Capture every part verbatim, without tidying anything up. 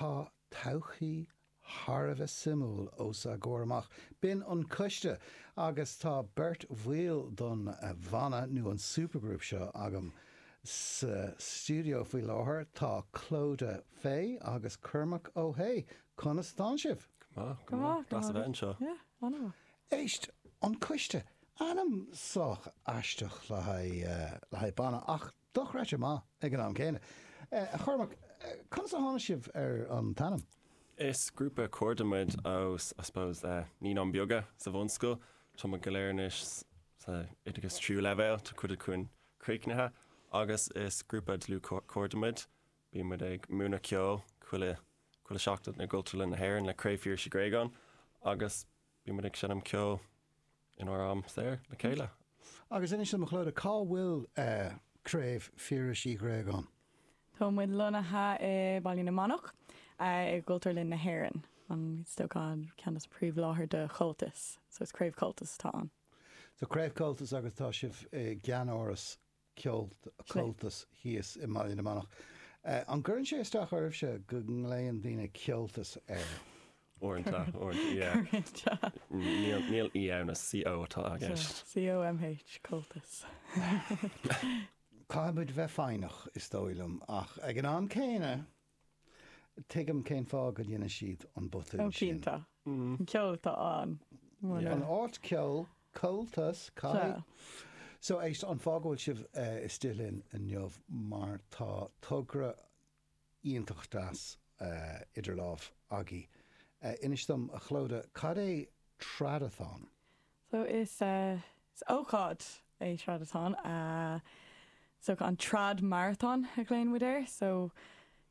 Tá todhchaí thar a bheith suimiúil os ár gcomhair amach. B'in An Coiste agus tá beirt bhaill don bhanna nó an supergroup seo agam sa stiúideo faoi láthair. Tá Clodagh Fay agus Cormac Ó hAodha. Conas atá sibh? Go maith, go maith. Anseo. Éist, An Coiste, ainm sách aisteach le haghaidh le haghaidh banna ach dochreidte maith ag an am céanna. A Chormac, conas a tháinig sibh ar an t-ainm? Is grúpa cairde muid ó I suppose uh, Naíonáin Bheaga sa bhunscoil. Tá muid go léir anois sa oideachas tríú leibhéal, tá cuid againn críochnaithe, agus is grúpa dlúthchairde muid. Bíonn muid ag múineadh ceoil chuile chuile seachtain i gCultúrlann na hÉireann le Craobh Phiarais Uí Ghréagáin agus bíonn muid ag seinm ceoil inár am saor le chéile. Agus inis dom, a Chlodagh, cá bhfuil uh, Craobh Phiarais Uí Ghréagáin? Tá muid lonnaithe i Baile na Manach i gCultúrlann na hÉireann. An stócán ceann is príomhláthair de Chomhaltas, so is Craobh Comhaltas atá ann. So Craobh Comhaltas agus tá sibh i gceannáras ceol Comhaltas thíos i mBaile na Manach. Uh, an gcuireann sé isteach oraibhse go nglaonn daoine ceoltas air? Uaireanta, uaireanta. Níl í ann, C O atá i gceist. C O M H Comhaltas. Caithfidh muid bheith foighneach, is dóigh liom, ach ag an am céanna tuigim cén fáth go ndéanann siad an botún Ó sin. Cinnte. An ceol atá ann. An áit ceol, Comhaltas cai. So éist, an fáth go bhfuil sibh uh, istigh linn inniu mar tá togra iontach deas uh, idir lámh agaibh. Uh, inis dom, a Chlodagh, cad é Tradathon? So is uh, is ócáid é Tradathon. Uh, so an Trad Marathon a ghlaonn muid air, so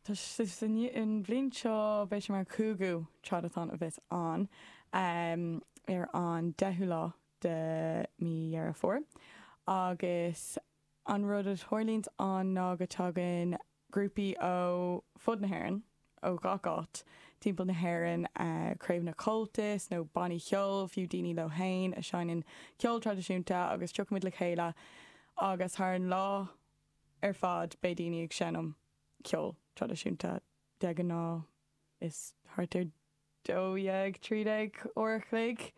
tá an bhliain seo beidh sé mar cúigiú Tradathon a bheas ann um, ar an deichiú lá de mí Dheireadh Fómhair. Agus an rud a tharlaíonn ann ná go dtagann grúpaí ó fud na hÉireann, ó gach áit timpeall na hÉireann, uh, craobh na Comhaltas nó bannaí ceoil, fiú daoine leo féin a sheinneann ceol traidisiúnta, agus tiocfaimid le chéile agus thar an lá ar fad beidh daoine ag seinm ceol traidisiúnta. De ghnáth is thart ar dó dhéag, trí déag uair a chloig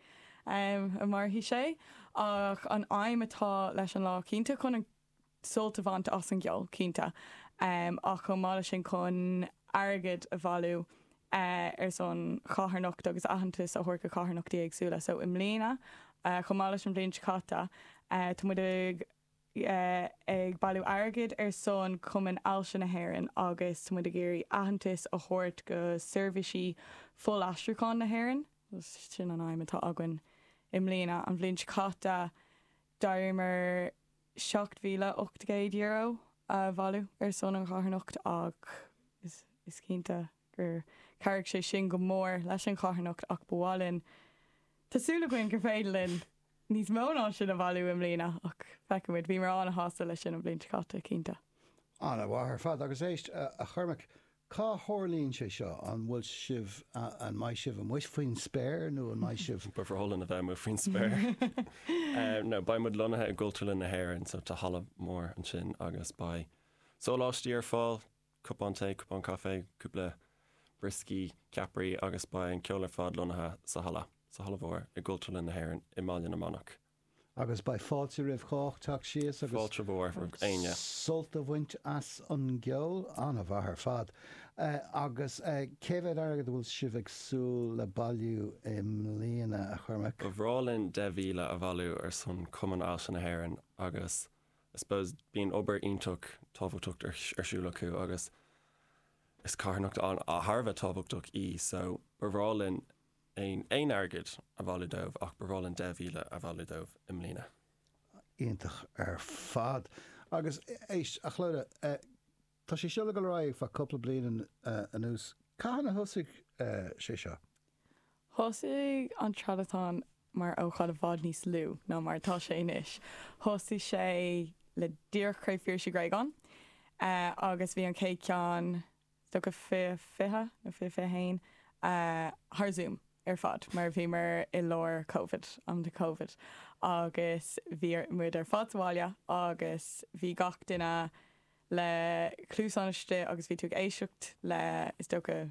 um, a mairfidh sé, ach an aidhm atá leis an lá cinnte chun an sult a bhaint as an gceol, cinnte, um, ach chomh maith leis sin chun airgead a bhailiú uh, ar son carthanacht agus aitheantas a thabhairt do charthanachtaí éagsúla. So i mbliana, uh, chomh maith leis an bhliain seo caite, uh, tá muid ag uh, ag bailiú airgid ar son Cumann Ailse na hÉireann agus tá muid ag iarraidh aitheantas a thabhairt go seirbhísí fuilaistriúcháin na hÉireann. Sin an aidhm atá againn i mbliana. An bhliain seo caite d'éiríomar seacht míle ocht gcéad euro a bhailiú ar son an charthanacht ach is, is cinnte gur chabhraigh sé sin go mór leis an charthanacht, ach ba mhaith linn, tá súil againn gur féidir linn níos mó ná sin a bhailiú i mbliana, ach feicfimid. Bhí muid an-shásta leis sin an bhliain seo caite, cinnte. An-mhaith ar fad. Agus éist, a Chormaic, cá tharlaíonn sé seo? An bhfuil sibh an mbeidh sibh amuigh faoin spéir nó an mbeidh sibh? Ba bhreá linn a bheith amuigh faoin spéir. No, beidh muid lonnaithe i gCultúrlann na hÉireann, so tá halla mór ansin agus beidh sóláistí ar fáil, cupán tae, cupán caife, cúpla brioscaí, ceapairí, agus beidh an ceol ar fad lonnaithe sa halla, sa halla mhór i gCultúrlann na hÉireann i mBaile na Manach. Agus beidh fáilte roimh chách teacht síos agus Fáilte mhór éinne. sult a bhaint as an gceol. An-mhaith ar fad. Uh, agus uh, cé mhéad airgead a bhfuil sibh ag súil le bailiú i mbliana, a Chormaic? Ba bhreá linn deich míle a bhailiú ar son Cumann Ailse na hÉireann agus I suppose bíonn obair iontach tábhachtach ar ar siúl acu agus is carthanacht an a thar a bheith tábhachtach í, so ba bhreá linn aon aon airgead a bhailiú dóibh, ach ba bhreá linn deich míle a bhailiú dóibh i mbliana. Iontach ar fad. Agus éist, a Chlodagh, uh, tá sé seo go raibh fa cúpla bliain uh, anuas. Cathain a thosaigh uh, sé seo? Thosaigh an Tradathon mar ócáid i bhfad níos lú ná mar tá sé anois. Thosaigh sé le díreach Craobh Phiarais Uí Ghréagáin uh, agus bhí an chéad cheann go fiche fiche nó fiche fiche haon uh, thar Zoom ar fad mar bhí mar i lár COVID, am de COVID, agus bhí muid ar fad sa bhaile agus bhí gach duine le cluasáin istigh agus bhí tú ag éisteacht le is dócha